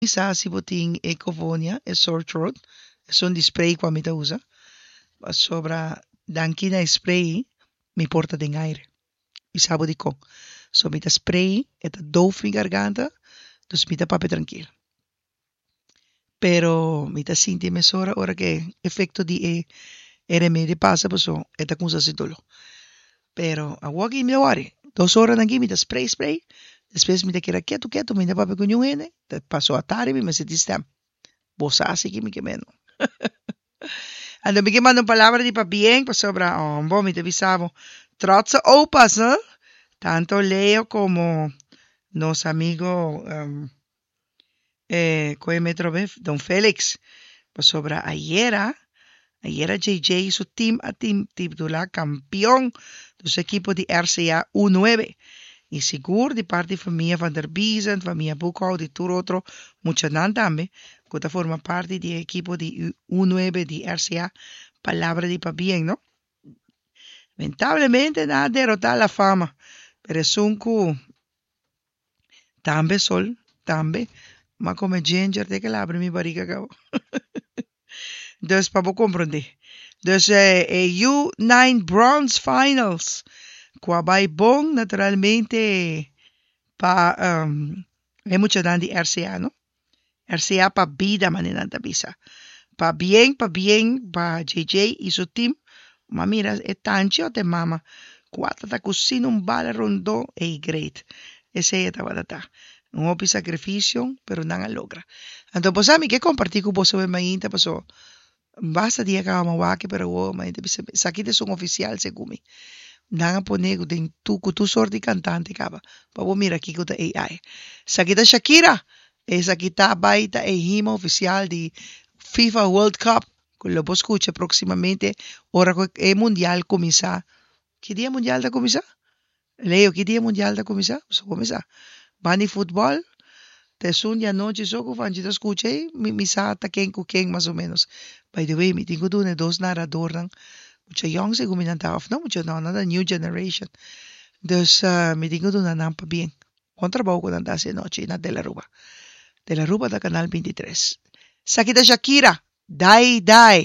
Sa si bo tin e Covonia, e sore throat, esun di spray ku ami ta usa, pasobra danki na e spray mi por ta den aire. Mi sa bo dikon. So mi ta spray, e ta doof mi garganta, dus mi ta papia trankil. Pero mi ta sinti mesora ora ku e efekto di e e remedio pasa paso e ta kumsa hasi dolo. Pero awor aki mi ta wòri. Dos oranan aki mi ta spray spray, despues mi ta keda ketu ketu, mi no ta papia ku niun hende, ta paso atari mi mester tin stèm. Bo sa si ki mi ke mendo. Anto mi ke manda un palabra di pabien pasobra bo mi ta bisa bo trotse opas no, tanto Leo komo nos amigo E koe metro be Don Felix pasobra ayera ayera JJ su team a team titula campeon di su ekipo di RCA U nuebe y sigur di parti famia Van der Biezen, famia Boekhout y tur otro muchanan tambe cu ta forma parti di e ekipo di U nuebe di RCA palabra di pabien no. Lamentablemente nan a derota La Fama pero esun cu. Tambe sol, tambe. M'a come ginger te ke labri mi barriga cabo. Dus pa bo comprende. Dus e U9 Bronze Finals cu a bay bon naturalmente pa e muchanan di RCA no. RCA pa bida manera nan ta bisa. Pa bien, pa bien pa JJ y su team. Ma mira e tanchi ot e mama cu a ta cusina un bala rondó ey great. Esey e tabata ta. Un hopi sacrificio pero nan a logra. Anto bo sa mi ke comparti cu boso e mainta paso Basta dia kaba mi a wak pero awor mi ta bisa esaki ta esun oficial segun mi. Nan a pone ku den tur ku tur sort di kantante kaba pa bo mira kiko ta AI. Esaki ta Shakira, esaki ta bai ta e himno oficial di FIFA World Cup ku lo bo skucha proximamente ora ku e mundial kuminsá. Ki dia mundial ta kuminsá? Leo, ki dia mundial ta kuminsá? Boso kuminsá. Ban di futbòl, ta esun di anochi so ku Vanchi ta skucha ei, mi mi sa ta ken ku ken mas o ménos. By the way, mi tin ku duna e dos naradornan, mucha yòn segun mi nan ta, òf no mucha, no, nan ta new generation. Dus mi tin ku duna nan pabien. Bon trabou ku nan ta hasi anochi na Tele Aruba. Tele Aruba ta kanal bintitres. Esaki ta Shakira, Dai Dai.